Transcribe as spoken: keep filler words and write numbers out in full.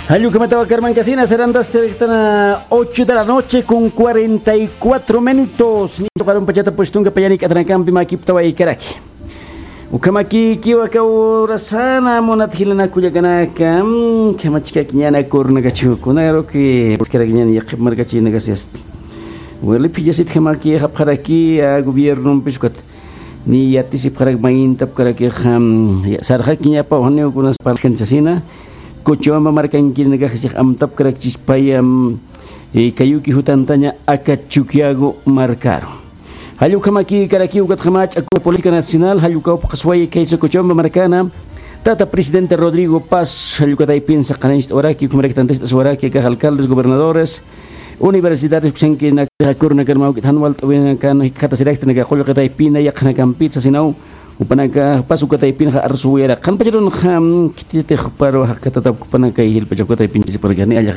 Jallukhamatawa karmankasina, serán las tres de la noche con cuarenta y cuatro minutos. Ni tocaron pachata puestunga payani katanakampi makiptawa ikaraki. Ukhamaki kiwa kawrasana munat jilanakullakanaka, mm, khamachkaki ñana kurnakachu, kunaro que iskarakiñan yaqhip markachinakasiyasta. Wali phillasit khamaki japjaraki a gobierno piskat. Ni yatisipxarak mayintapkarakix, am, ya, sarxakiñapa, janiw kunas parlkan sasina, Cochabamba markankirinakax chix amtapkarakchis payam, eh, kayuki jutantaña aka Chukiyago markaru. Jallukhamaki karakiw ukatxama ch'aku política nacional, jallukawpxasway kaysa Cochabamba markana, tata presidente Rodrigo Paz, jallukataypin saqanañcht'awaraki, ukhamaraki tantast'aswaraki, akax alcaldes, gobernadores, universidades, kusankirinakakurnakarmawkit jan walt'awinakan jikxatasiraktanaka qullqitaypina yaqhanakampit sasinaw, jupanaka pasukataypinxa arsuwiyara qhanpacharunxa, mm, khititix juparu jaqkatatap jupanaka jilpachakataypinchisiparkani allax